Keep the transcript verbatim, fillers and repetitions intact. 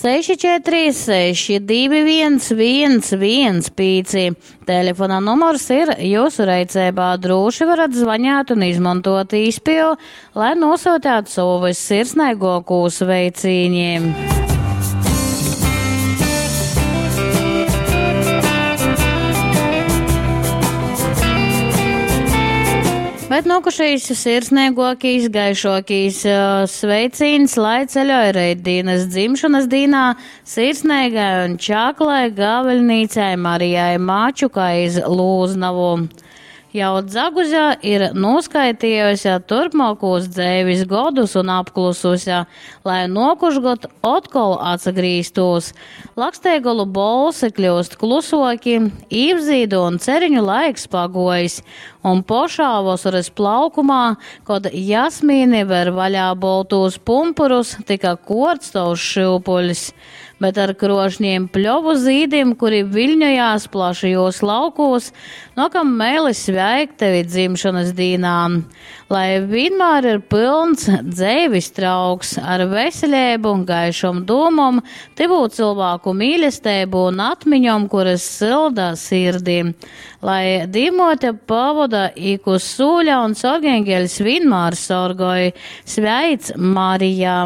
seši četri seši divi viens viens viens pīci. Telefona numurs ir jūsu reiceibā. Drūši varat zvaņāt un izmantot īspēju, lai nosūtētu savu vissirsnīgāko sveicīņi. Bet nokušīs sirsnīgākīs, gaišākīs sveicīns, lai ceļoja reitdienas dzimšanas dīnā sirsnīgai un čaklai gaveļnīcai Marijai Mačukai iz Lūznavu. Jau dzaguze ir noskaitījusi turpmākos dzeivis godus un apklususi, lai nokušgod otkol atsagrīztos. Laksteigolu bolsi kļūst klusoki, īvzīdu un ceriņu laiks pagojis, un pošā vasaras plaukumā, kod jasmīni ver vaļā boltūs pumpurus, tika korts tovs šyupuļs. Bet ar krošņiem pļovu zīdim, kuri viļņojās plašajos laukos, nokam mēli sveikt tevi dzimšanas dīnā. Lai vienmēr ir pilns dzeivis trauks ar veselību, gaišom dūmom, tyvū cilvēku mīlestību un atmiņom, kuras silda sirdī. Lai Dīvmote pavoda ik uz sūļa un sorgengeļs vienmēr sorgoj. Sveic, Marija!